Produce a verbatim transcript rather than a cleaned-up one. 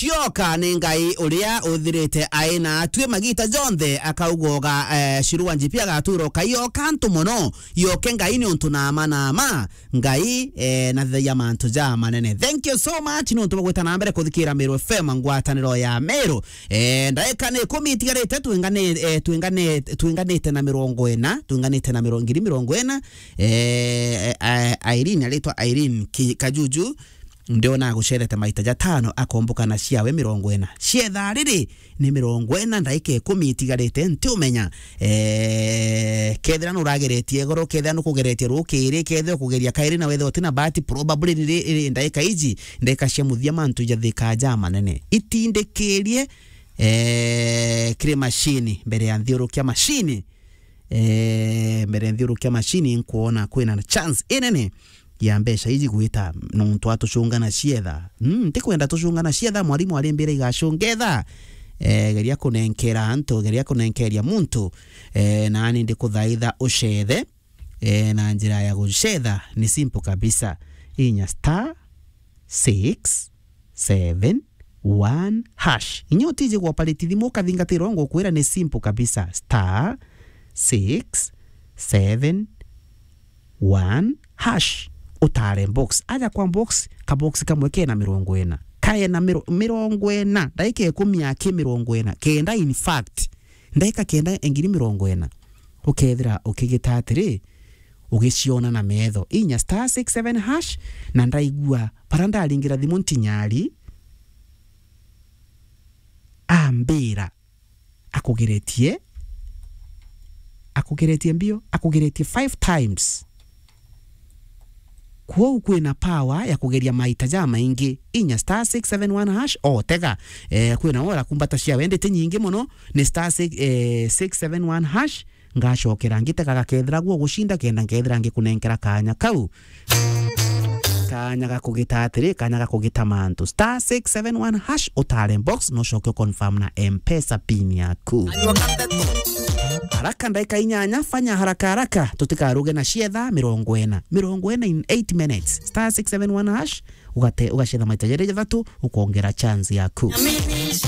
Tioka ni Ngai uria uthirite aina atwi magita jonthe, akaugoga, eh, Shirua Njipi agatura ukaiyoka antu mono. Yoke Ngai ni untu nama nama. Ngai, eh, nathagia mantu ja manene. Thank you so much ni untu bwa gwita na mbere kuthikira Meru F M, ngwataniro ya Meru. Eh, ndaika ni ikumi itigarite, twingane-, eh, twingane-, twinganite na mirongo ina, twinganite na miro-, ngiri mirongo ina. Eh, eh, Irene, aritwa Irene Ki-, Kajuju, ndiona agucerete maita jatano, akomboka na ciawe mirongo ina. Cietha riri, ni mirongo ina, ndaika ikumi itigarite, ntiumenya. Eh, kethira nurageretie igoro, kethira nukugeretie rukiri, kethira ukugeria kairi na wethira utina bahati, probably riri, riri ndaika iji, ndaika cia muthia mantu jathikaa ja manene. Itindikirie, eh, kiri mashini, mbere ya nthiurukia mashini. Eh, mbere nthiurukia mashini, nkwona kwina na chance inene ya mbeca iji gwita nontu atucungana cietha. Mm, ntikwenda tucungana cietha, mwarimu arimbira igacunga etha. Eh, geria kunenkera antu, geria kunenkeria muntu. Eh, nani ndikuthaitha ucethe. Eh, na njira ya gucetha ni simple kabisa. Inya star six seven one hash. Inya utiji gwa operate thimu ukathingatira, ngukwira ni simple kabisa. Star six seven one hash. Utare box. Aja kwa box, ka box kamwe kena mirongo ina. Kaena miro-, mirongo ina. Ndaika ikumi aki mirongo ina. Kenda, in fact, ndaika kenda engiri mirongo ina. Ukethira ukigita atiri, ugiciona na metho. Inya star six seven hash, na ndaigua bara ndaringira thimu ntinyari, ambira akugeretie, akugeretie mbio, akugeretie five times. Kwou kwina power ya kugeria maita jamaingi. Inya star six seven one hash, otega. Eh, kwina ora kumbata cia wendete nyingi mono, ni star six, eh, six seven one hash, ngacokera ngitega gakethira guo gucinda kenda nkethira ngikunenkera kanya kau. Kanya ga kugita atiri, kanya ga kugita mantu. Star six seven one hash, utare box, no coke confirm na M-Pesa pin yaku. Haraka, ndaika inyanya, fanya haraka haraka, tutikaruge na cietha mirongo ina. Mirongo ina in eight minutes. Star six seven one hash, ugate-, ugacetha maita jeri jathatu, ukongera chance yaku.